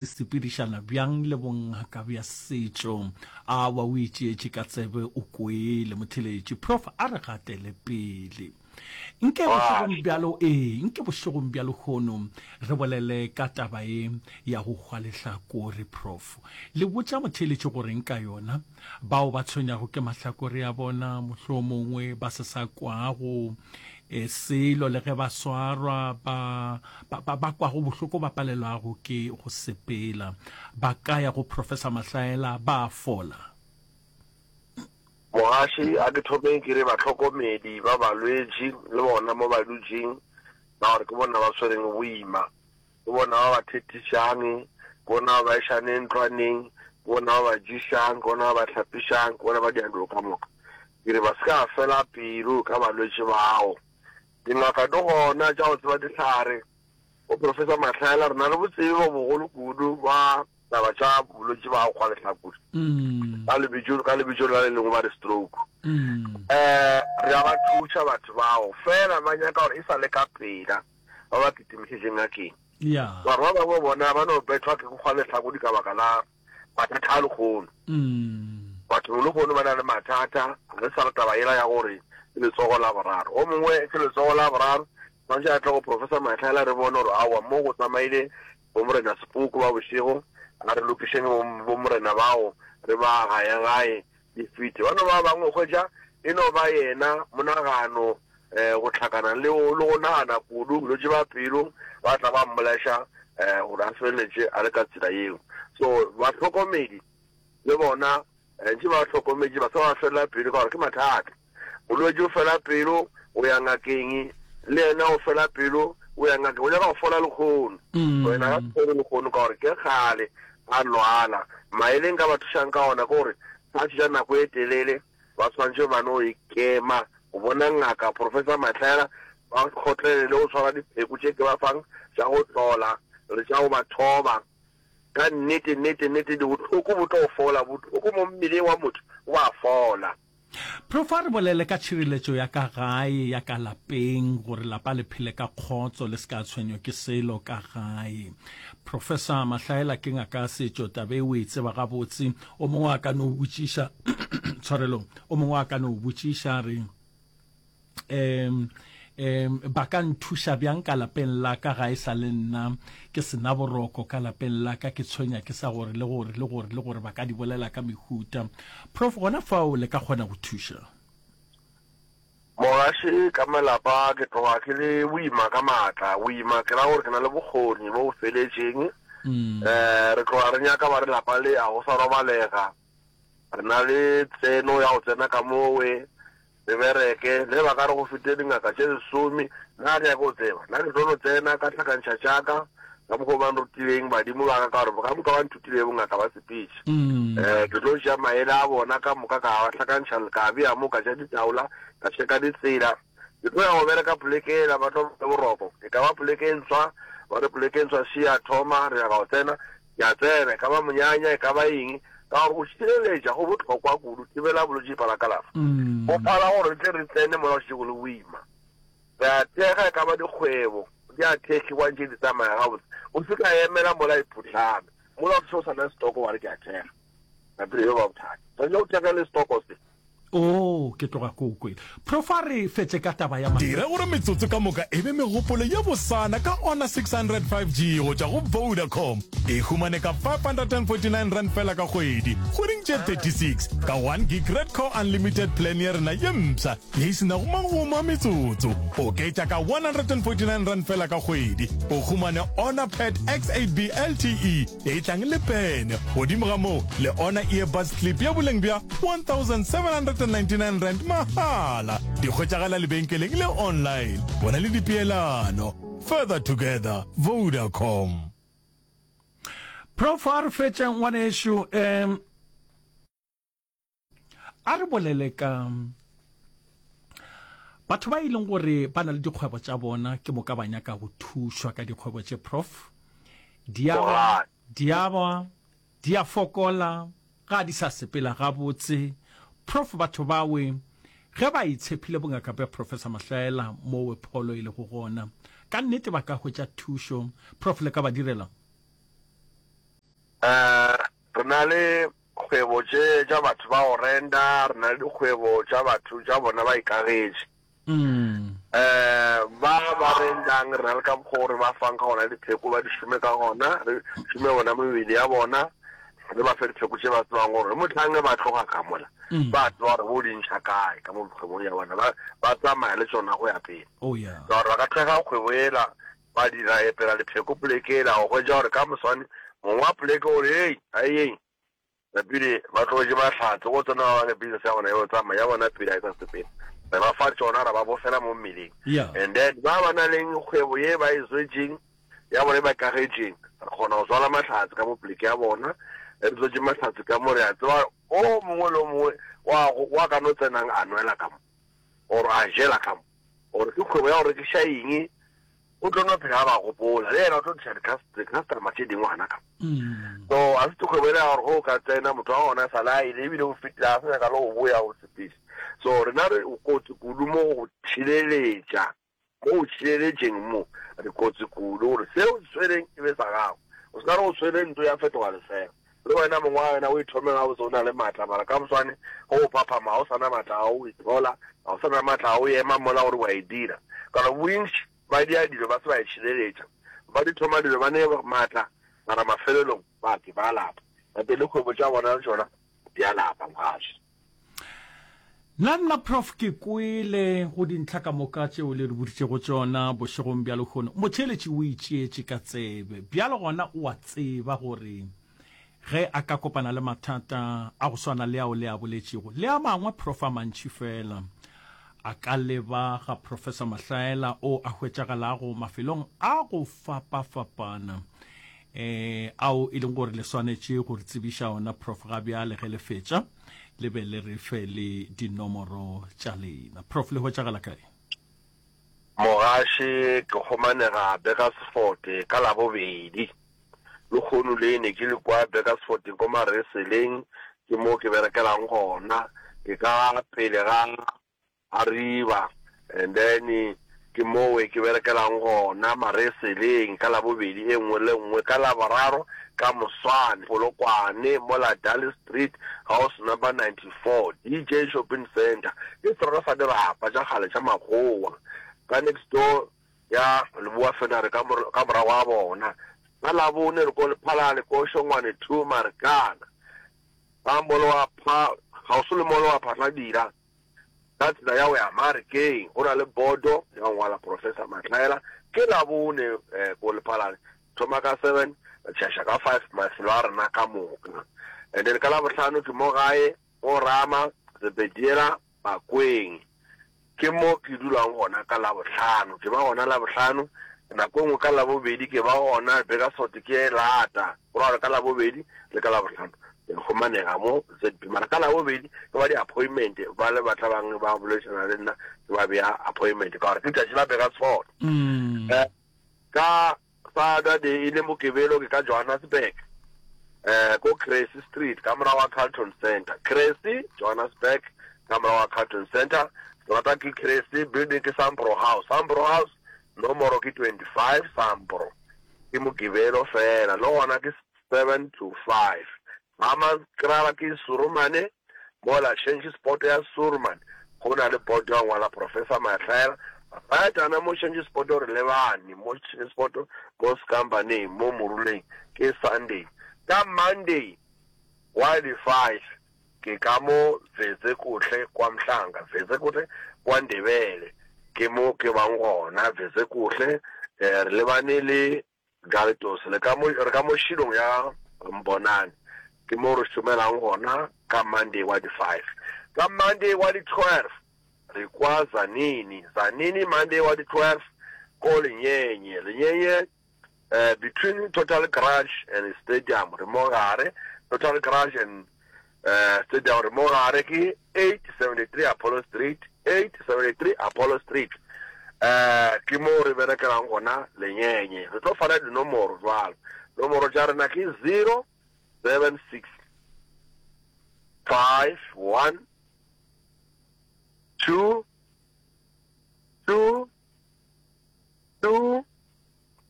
Se sepedišana bjang le bongaka bja setšo? Awa, o itšeetše ka tsebe o kwele, motheeletši. Prof, a re gatele pele. Nke bošegong bja ee, nke bošegong bja lehono re bolele ka taba ye ya go hwa lehlakore, Prof. Le botša motheeletši goreng ka yona? Bao ba tshwenyago ke mahlakore a bona, mohlomongwe ba se sa kwago e, selo le ge ba swarwa, ba, ba, ba, ba kwago bohloko ba palelwago ke go sepela, ba ka ya go Professor Mahlaela ba fola. Mogaši, a ke thomeng ke re bahlokomedi ba balwetši le bona mo ba dutšeng, ka gore ke bona ba swereng boima, ke bona ba ba thethišang, ke bona ba ba išaneng ntlwaneng, ke bona ba ba ješang, ke bona ba ba hlapišang, ke bona ba dirang dilo ka moka. Ke re ba se ka fela pelo ka balwetši bao. Dingaka di gona tša go tseba dihlare. Bo Professor Mahlaela, re na le botsebi bo bogolo kudu ba taba tša bolwetši ba go hwa lehlakore. Ka lebitso, ka lebitso la le lengwe ba re stroke. Eh, re a ba thuša batho bao, fela ba nyaka gore e sa le ka pela ba ba kitimišetše ngakeng. Mara ba bangwe bona ba no bethwa ke go hwa lehlakodi ka baka la mathata a lehono. Batho lehono ba na le mathata, ga re sa le taba yela ya gore ke letsogo la boraro. O mongwe ke letsogo la boraro, tshwanetse a tle go Professor Mahlaela re bone gore aowa mo go tsamaile bo Morena Sepoko ba bošego, a re lokišeng bo Morena bao re ba gaye gae di fete. Ba no ba bangwe o hwetša e no ba yena monagano um go hlakana le le go nagana kudu, bolwetši ba pelo ba tla ba mmolaiša um gore a feleletše a le ka tsela yeo. So bahlokomedi le bona ntše ba hlokometše ba se ba fela pelo ka gore ke mathata. Molwetši o fela pelo o ya ngakeng, le yena o fela pelo o ya ngakeng, o nyaka go fola lekgono. Wena ga se fole lekgono ka gore ke kgale a lwala. Maele nka ba thušang ka ona ke gore ba tša nako e telele ba swanetše ba no ikema go bona ngaka Professor Mahlaela, ba kgotlelele go tshwara dipheko tše ke ba fang tša go tlola le tša go ba thoba. Ka nnete, nnete, nnete, bohloko bo tlo fola, bohloko mo mmeleng wa motho bo a fola. Prof. A re bolele ka tšhireletšo ya ka gae, ya ka lapeng, gore lapa le phele ka kgotso, le se ka tshwenywa ke selo ka gae. Professor Mahlaela ke ngaka ya setšo, taba e o e tseba gabotse. O mongwe a ka no botšiša, tshwarelo, o mongwe a ka no botšiša a re, um um ba ka nthuša bjang ka lapeng la ka ga e sa le nna ke se na boroko ka lapeng la ka ke tshwenya ke sa gore le gore le gore le gore ba ka di bolela ka mehuta. Prof gona fao le ka kgona go thuša? Mogaši ka malapa ke tloga ke le boima ka maatla. Boima ke ra gore ke na le bokgoni bo bo feletšeng. Um re tloga re nyaka ba re lapa le a go sa robalega. Re na le tseno ya go tsena ka mowe. Re bereke, le ge ba ka re go fetile dingaka tše lesome, nna ga ke nyake go tseba. Nna ke tlo no tsena ka hlakantšha tša ka, ka mokgwa o ba nrutileng badimo ba ka, ka gore ka moka ba nthutilego bongaka ba sepetše. Um ke tlo tšea maele a bona ka moka ka a hlakantšha, ka a bea mo, ka tšea ditaola, ka tšheka ditsela. Ke tlo ya go bereka poleke yela, ba tlo ba le boroko. E ka ba poleke e ntshwa, ba re poleke e ntshwa še ya thoma, re nyaka go tsena. Ke a tsena, e ka ba monyanya, e ka ba eng, ka gore go šireletša go bohlokwa kudu, thibela bolwetši phala kalafo. Go phala gore re tle re tsene mola go šetše go le boima. Re a thekga, e ka ba dikgwebo, di a thekgiwa ntše di tsamaya gabotse. O se ka emela mola e phuhlame, mola o se o sa na le setoko wa re ke a thekga. Napile yo ba bothata. Tshwanetse o thekge le setoko se. Oo, ke tloga ke o kwele. Prof a re fetše ka taba ya Dira gore metsotso ka moka e be megopolo ye bosana ka Honor 600 5G go tšwa go Vodacom. E humane ka R549 fela ka kgwedi, kgweding tše 36, ka 1 gig Redco Unlimited plan ya rena ye mpsha ye e se nago magomo a metsotso. Oketša ka R149 fela ka kgwedi, o humane Honor Pad X8B LTE E tlang le pene. Godimo ga moo, le ona earbuds clip ya boleng bja R1,799 mahala. Di hwetšagala lebenkeleng le online. Bona le dipeelano. Further together, Vodacom. Prof a re fetše ngwanešu um A re bolele ka batho ba e leng gore ba na le dikgwebo tša bona ke moka ba nyaka go thušwa ka dikgwebo tše prof di a wa di a wa di a fokola ga di sa sepela gabotse prof batho bawe ge ba itshephile bongaka bja professor Mahlaela mowe pholo e lego gona ka nnete ba ka hwetša thušo prof le ka ba direla? Um re na le kgwebo tše tša batho ba go renta, re na le dikgwebo tša batho tša bona ba ikagetše. Um ba ba rentang re na le ka mokgwa o re ba fang ka gona dipheko ba di šome ka gona, re šome bona mebele ya bona, re ba fe dipheko tše ba tsebang gore mohlang ge ba tloga ka mola ba tseba gore bo di ntšha kae ka mo kgwebong ya bona, ba ba tsamaya le tšona go ya pele. Oh yeah. Ka gore ba ka thekga kgwebo ela ba dira epela lepheko poleke ela go hwetša gore ka moswane mong wa poleke o re hei aeyeng napile ba tlogetše mahlatse go tsena ba bane business ya bona yo tsamaya ya bona pele ga e sa sepela re ba fa tšona ra ba bofela mo mmeleng Yeah. and then ba ba na leng kgwebo ye ba e tswetšeng ya bona e ba kagetšeng re kgona go tswala mahlatse ka mo poleke ya bona re tswetše mahlatse ka mo re a tseba o mongwe le o mongwe wa wa ka no tsenang a nwela ka mo or a jela ka mo gore ke kgwebo ya go rekiša eng, o tlo no phela a ba gopola, le yena o tlo tliša di-customer tše dingwe gana ka mo. So a se kgwebo ele ya gore ge o ka tsena motho wa gona sa le a ile ebile o fetile a sa nyaka le go boya go sepediša. So rena re kotsi kudu mo go tšhireletša, mo go tšhireletšeng mo re kotsi kudu gore se o se tshwereng e be sa gago. O se ka re o tshwere ntlo ya fetoga lefela. Le wena mong wa wena o ithome gabotse o na le maatla, mara ka moswane ge o phaphama ga o sa na maatla a go ithola, ga o sa na maatla a go ema mola gore wa e dira. Ka gore bontši ba dia dilo ba se ba itšhireletša, ba di thoma dilo ba ne maatla, mara mafelelong ba ke ba lapa. Gape le kgwebo tša bona le tšona di a lapa mogaši. Nna nna Prof ke kwele go dintlha ka moka tšeo le re boditšego tšona bošegong bja lehono. Motheeletši o itšeetše ka tsebe. Bjalo gona o a tseba gore ge a ka kopana le mathata a go swana le ao le a boletšego le a mangwe Prof a mantši fela a ka leba ga Professor Mahlaela o a hwetšagalago mafelong a go fapafapana eh ao e leng gore le swanetše go re tsebiša ona Prof ga bjale ge le fetša le be le re fe le dinomoro tša lena. Prof le hwetšagala kae? Mogaši, Ke humanega Burgersfort ka Labobedi. Lekgono le ne ke le kwa Burgersfort ko Mareseleng, ke mo ke berekelang gona. Ke ka pele ga Arriba and then ke mowe ke berekelang gona Mareseleng ka Labobedi e nngwe le nngwe. Ka Laboraro ka moswane Polokwane mola Dali Street house number 94 DJ Shopping Centre ke seterata sa dirapa tša kgale tša makgowa ka next door ya Leboa Fenare ka ka morago ga bona. Ka Labone re ko Lephalale ko Shongwane 2 Marikana ka molo wa pha kgauswi le molo wa Phatladira. Ka tsela ya go ya Marekeng go na le bodo ya go ngwala Professor Mahlaela. Ke Labone ko Lephalale, thoma ka seven re tšhaša ka five mafelo a rena ka moka. And then ka Labohlano ke mo gae mo Rama, Zebediela, Bakweng. Ke mo ke dulang gona ka Labohlano. Ke ba gona Labohlano, nako e nngwe ka Labobedi ke ba gona, Burgersfort ke e lata. Go ra gore ka Labobedi le ka Labohlano ke a humanega mo ZB. Mara ka Labobedi ke ba di-appointment, ba le ba tla bang ba boledišana le nna, ke ba bea appointment ka gore ke letšatši la Burgersfort. Eh, ka Saturday e le Mokibelo ke ka Johannesburg, eh, ko Cressy Street ka morago ga Carlton Centre. Cressy, Johannesburg, ka morago ga Carlton Centre. Seterata ke Cressy, building ke Sambro House. Sambro House, nomoro ke 25 Sambro. Ke Mokibelo feela, le gona ke 7 to 5. Hammanskraal ke Surumane, mola Change Spot ya Surman go na le boto ya ngwala Professor Mahlaela. Right gana mo Change Spot re lebane mo Change Spot mo Skambaneng mo Moruleng ke Sunday. Ka Monday wa di 5 ke ka mo Vetsekuhle kwa Mhlanga, Vetsekuhle kwa Ndebele ke mo ke bang gona Vetsekuhle eh, re lebane le Galetos le ka mo re ka mo šilong ya Mbonane ke mo re šomelang gona ka Monday wa di 5. Ka Monday wa di 12 re kwa Zanini, Zanini Monday wa di 12 ko Lenyenye, Lenyenye eh, between Total Garage and Stadium re mo gare, Total Garage and eh, Stadium re mo gare ke 873 Apollo Street, 873 Apollo Street eh, ke mo re berekelang gona Lenyenye. Re tlo fana dinomoro jwalo, nomoro tša rena ke 076 5 1 2 2 2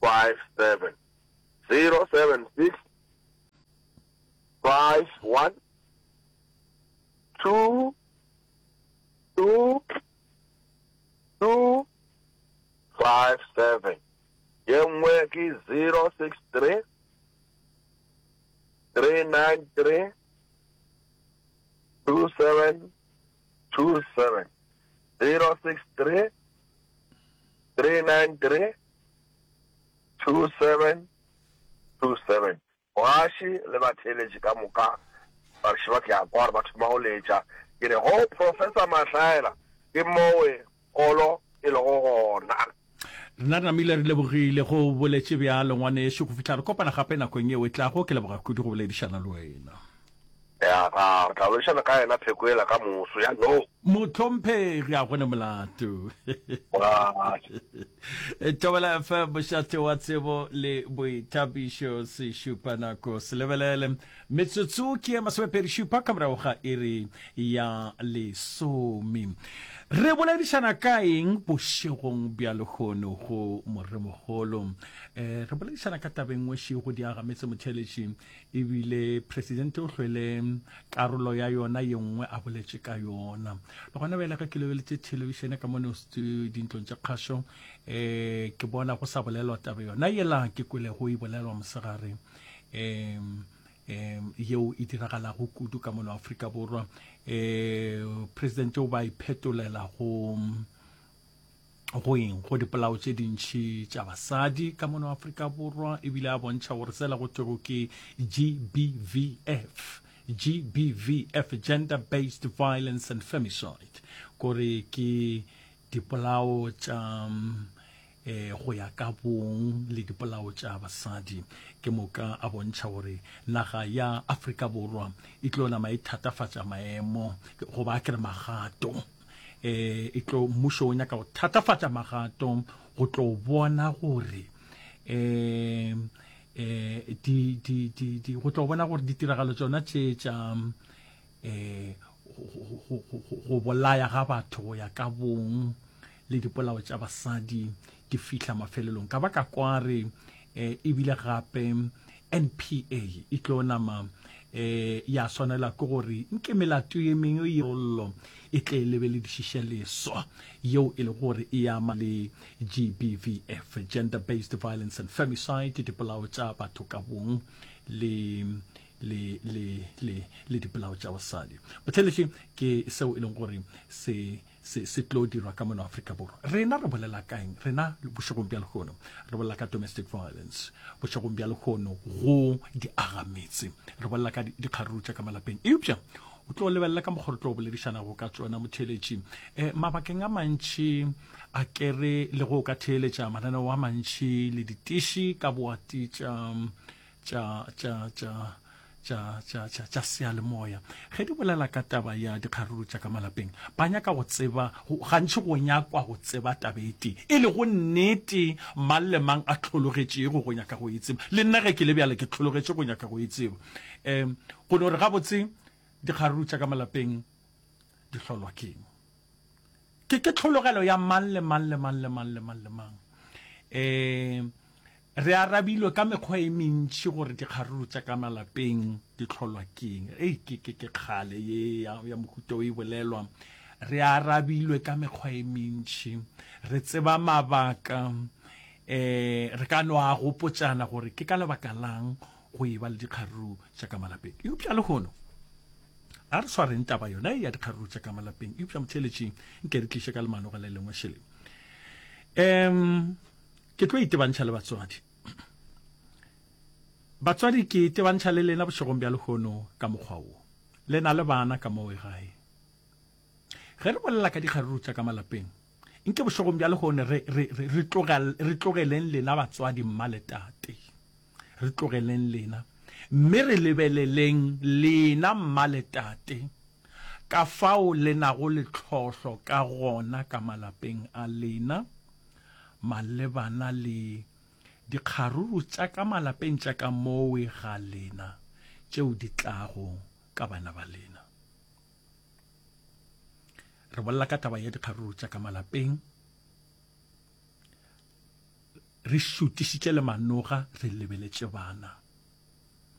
5 7 0 7 6. 51 2 2 2 5 7. Ye nngwe ke 063 393 27 27. 063 393 27 27. Mogaši le batheeletši ka moka ba re šeba ke a kwa gore ba thoma go letša. Ke re go Professor Mahlaela ke mowe kolo e lego gona. Rena re namile re lebogile go boletše bjalo ngwanešu go fihla re kopana gape nakong yeo e tlago. Ke leboga kudu go boledišana le wena. Ya ga, re tla boledišana ka yena pheko yela ka moso. Ya no. Mohlomphegi, a go ne molato. Thobela FM, mošate wa tsebo le boithabišo, sešupanako se lebelele. Metsotso ke ye masomepedi-šupa ka morago ga iri ya lesome. Re boledišana ka eng bošegong bja lehono go Moremogolo? Eh, re boledišana ka tabeng nngwe šego di agametse motheeletši Ebile presidente o hlwele karolo ya yona ye nngwe a boletše ka yona. Le gona bjale ge ke lebeletše thelebišene ka mono dintlong tša kgašo, um ke bona go sa bolelwa taba yona yela ke kwelego e bolelwa mosegare, um um yeo e diragalago kudu ka mono Afrika Borwa. Um presidente o ba iphetolela go go eng go dipolao tše dintši tša basadi ka mono Afrika Borwa, ebile a bontšha gore sela go thwego ke GBVF, GBVF, Gender Based Violence and Femicide, kore ke dipolao tša eh, go ya ka bong le dipolao tša basadi. Ke moka a bontšha gore naga ya Afrika Borwa e tlo nama e thatafatša maemo goba a ke re magato eh e tlo mmušo o nyaka go thatafatša magato go tlo bona gore eh eh di di di di go tlo bona gore ditiragalo tsona tše tša eh go bolaya ga batho go ya ka bong le dipolao tša basadi di fihla mafelelong ka baka kware eh ebile gape NPA e tlo nama eh ya swanela ke gore nke melato ye mengwe ye rollo e tle e lebeledišiše leswa yeo e le gore e ama le GBVF, Gender Based Violence and Femicide, dipolao tša batho ka bong le le le le le dipolao tša basadi. Botheletši ke seo e leng gore se Se se tlo dirwa ka mono Afrika Borwa. Rena re bolela ka eng? Rena bošegong bja lehono re bolela ka domestic violence. Bošegong bja lehono go di agametse. Re bolela ka dikgaruru tša ka malapeng. Eupša o tlo lebelela ka mokgwa re tlo boledišanago ka tšona motheeletši. Eh, mabakeng a mantši a kere le go ka theeletša mananeo a mantši le ditiši ka boati tša tša tša tša tša tša tša tša seyalemoya ge di bolela ka taba ya dikgaruru tša ka malapeng ba nyaka go tseba gantši go nyakwa go tseba taba e tee e lego nnete mang le mang a hlologetšego go nyaka go e tseba le nna ge ke le bjale ke hlologetše go nyaka go e tseba um go no re gabotse dikgaruru tša ka malapeng di hlolwa keng ke ke tlhologelo ya mang le mang le mang le mang le mang le mang um Re arabilwe ka mekgwa e mentši gore dikgaruru tša ka malapeng di hlolwa keng. Ei, ke, ke, ke kgale ye ya, ya mohuta o e bolelwa. Re arabilwe ka mekgwa e mentši. Re tseba mabaka, eh, re ka no a gopotšana gore ke ka lebaka lang go e ba le dikgaruru tša ka malapeng. Eupša lehono, a re swareng taba yona ya dikgaruru tša ka malapeng. Eupša motheeletši, nke re tliše ka lemanoga le lengwe šele. Um, Ke tlo itebantšha le batswadi. Batswadi, ke itebantšha le lena bošegong bja lehono ka mokgwa wo. Le na le bana ka mowe gae. Ge re bolela ka dikgaruru tša ka malapeng, nke bošegong bja lehono re, re, re, re, tlogel, re tlogeleng lena batswadi mma le tate. Re tlogeleng lena. Mme re lebeleleng lena mma le tate ka fao le nago le tlhohlo ka gona ka malapeng a lena. malebana le dikgaruru tša ka malapeng tša ka mowe ga lena tšeo di tlago ka bana ba lena. Re bolela ka taba ya dikgaruru tša ka malapeng, re šutišitše le manoga re lebeletše bana.